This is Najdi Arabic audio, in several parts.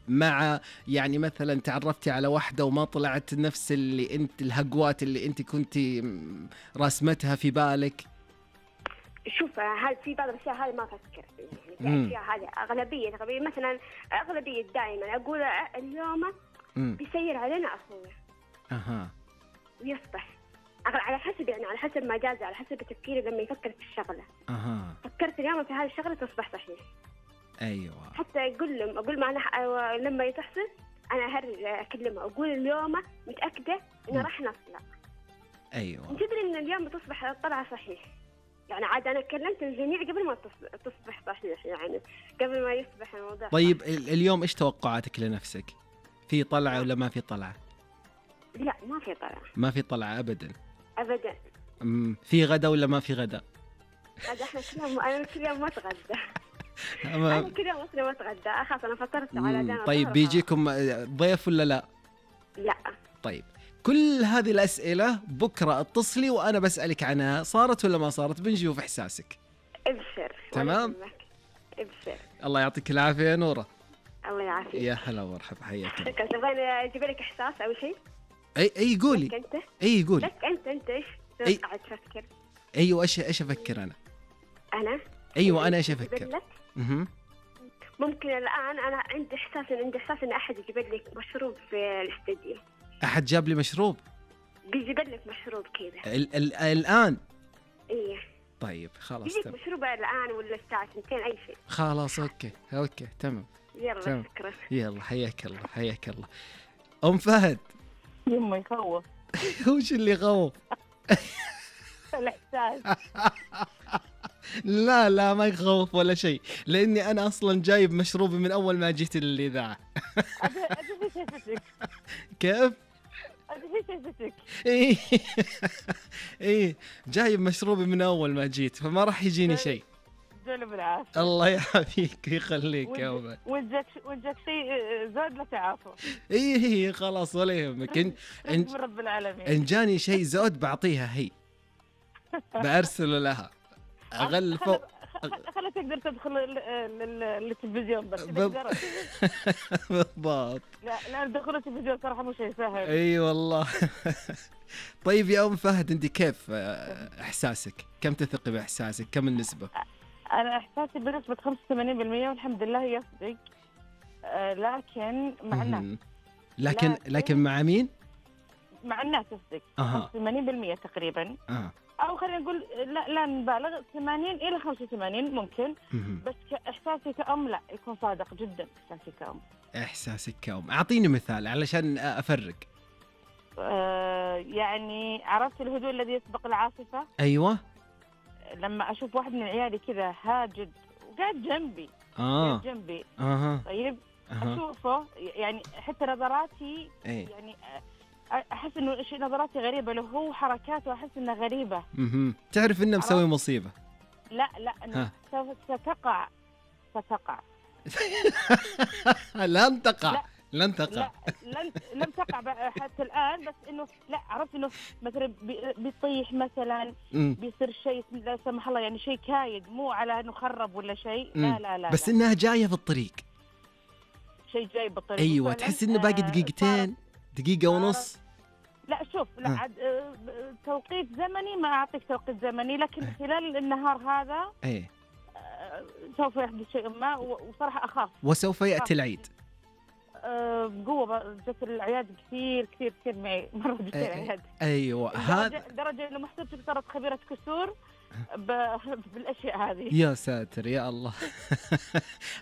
مع يعني مثلا تعرفتي على واحدة وما طلعت نفس اللي انت الهقوات اللي انت كنتي راسمتها في بالك؟ شوف، هل في بعض الأشياء هذه ما أفكر يعني، في أشياء هذه أغلبية مثلا أغلبية دائما أقول اليوم بيسير علينا أخوه ويصبح على حسب يعني، على حسب مجازي، على حسب تفكيري لما يفكر في الشغلة. فكرت اليوم في هذه الشغلة تصبح صحيح. أيوة. حتى أقول معنا لما تحصل أنا أكلمه أقول اليوم متأكدة إنه راح نطلع. أيوة. تدري إن اليوم بتصبح الطلعة صحيح يعني. عاد أنا كلمت الجميع قبل ما تصبح صحيح يعني، قبل ما يصبح الموضوع. طيب اليوم إيش توقعاتك لنفسك؟ في طلعة ولا ما في طلعة؟ لا ما في طلعة. ما في طلعة أبدا. أبدا. في غدا ولا ما في غدا؟ هذا إحنا أنا كل يوم ما أتغدى. أنا كل يوم ما أتغدى، أخاف أنا فطرت على دانا. طيب بيجيكم ضيف ولا لا؟ لا. طيب كل هذه الأسئلة بكرة اتصلي وأنا بسألك عنها، صارت ولا ما صارت؟ بنشوف إحساسك. ابشر. تمام. ابشر. الله يعطيك العافية يا نورة. الله يعافيك. يا هلا ومرحبا، حياك. تبغين أجيب لك إحساس أو شيء؟ أي قولي. أنت؟ أي قولي. لك أنت إيش قاعد تفكر؟ أيوة إيش أفكر أنا؟ أيوة أنا إيش أفكر؟ ممكن الآن أنا عندي إحساس إن أحد يجيب لك مشروب في الاستديو. أحد جاب لي مشروب؟ بيجيب لك مشروب كذا الآن؟ إيه. طيب خلاص بيجيك مشروب الآن ولا الساعة 2 أي شيء. خلاص أوكي تمام. يلا شكرا. يلا حياك الله. أم فهد. يما يخوف. وش اللي يخوف؟ الإحساس. لا ما يخوف ولا شيء، لأني أنا أصلا جايب مشروبي من أول ما جيت الإذاعة. أدري شايفتك. كيف؟ أدري شايفتك. إيه جايب مشروبي من أول ما جيت، فما راح يجيني شيء. جل بالعافية. الله يعافيك ويخليك يا أمي. وجهك شيء زاد لا تعافى. إيه خلاص ولا يهمك. رب العالمين. إن جاني شيء زود بعطيها هي، بأرسل لها أغل فوق. خلها تقدر تدخل التلفزيون بس. بالضبط. لا دخول التلفزيون صراحة مو شيء سهل. اي والله. طيب يا أم فهد أنت كيف إحساسك؟ كم تثقي بإحساسك؟ كم النسبة؟ أنا إحساسي بنسبة 85% والحمد لله يصدق، لكن مع الناس. لكن مع مين؟ مع الناس يصدق 80% تقريبا. أو خلينا نقول لا نبالغ 80 إلى 85 ممكن. بس إحساسي كأم لا يكون صادق جدا. إحساسك كأم أعطيني مثال علشان أفرق. يعني عرفت الهدوء الذي يسبق العاصفة؟ أيوة. لما أشوف واحد من عيالي كذا هاجد وقاعد جنبي جنبي طيب أشوفه يعني حتى نظراتي يعني أحس إنه شيء نظراتي غريبة له، هو حركاته أحس إنها غريبة. تعرف إنه مسوي مصيبة. لا إنه ستقع. لن تقع. لم تقع حتى الآن، بس إنه لا عرفت إنه مثلا بيطيح مثلا بيصير شيء لا سمح الله يعني شيء كايد، مو على إنه خرب ولا شيء. لا بس إنها جاية في الطريق. شيء جاي بالطريق. أيوة تحس إنه باقي دقيقة ونص. لا شوف لا توقيت زمني ما أعطيك توقيت زمني، لكن خلال النهار هذا سوف يحدث شيء ما، وصراحة أخاف. وسوف يأتي العيد. بقوة جت العياد كثير معي مرة جت العياد. أيوة هذا درجة إنه محسبتك صارت خبيرة كسور بالأشياء هذه. يا ساتر يا الله.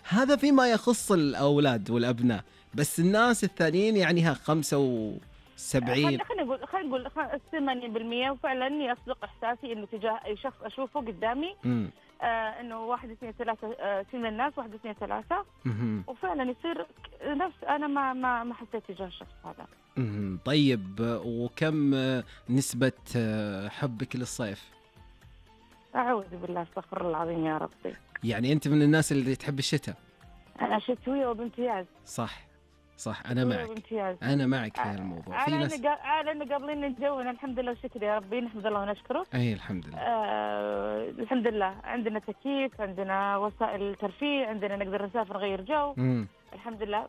هذا فيما يخص الأولاد والأبناء، بس الناس الثانيين يعني 75. خلينا نقول 80%. وفعلا يصدق إحساسي إنه تجاه أي شخص أشوفه قدامي إنه 1 2 3 في من الناس 1 2 3 وفعلا يصير نفس أنا ما حسيت تجاه الشخص هذا. طيب وكم نسبة حبك للصيف؟ أعوذ بالله استغفر الله العظيم يا ربي. يعني أنت من الناس اللي تحب الشتاء؟ أنا شتوية وبامتياز. صح أنا معك في هالموضوع. في ناس لأنه قابلين الجو الحمد لله والشكر يا ربي، نحمد الله ونشكره. أي الحمد لله. الحمد لله عندنا تكييف، عندنا وسائل ترفيه، عندنا نقدر نسافر نغير جو. الحمد لله.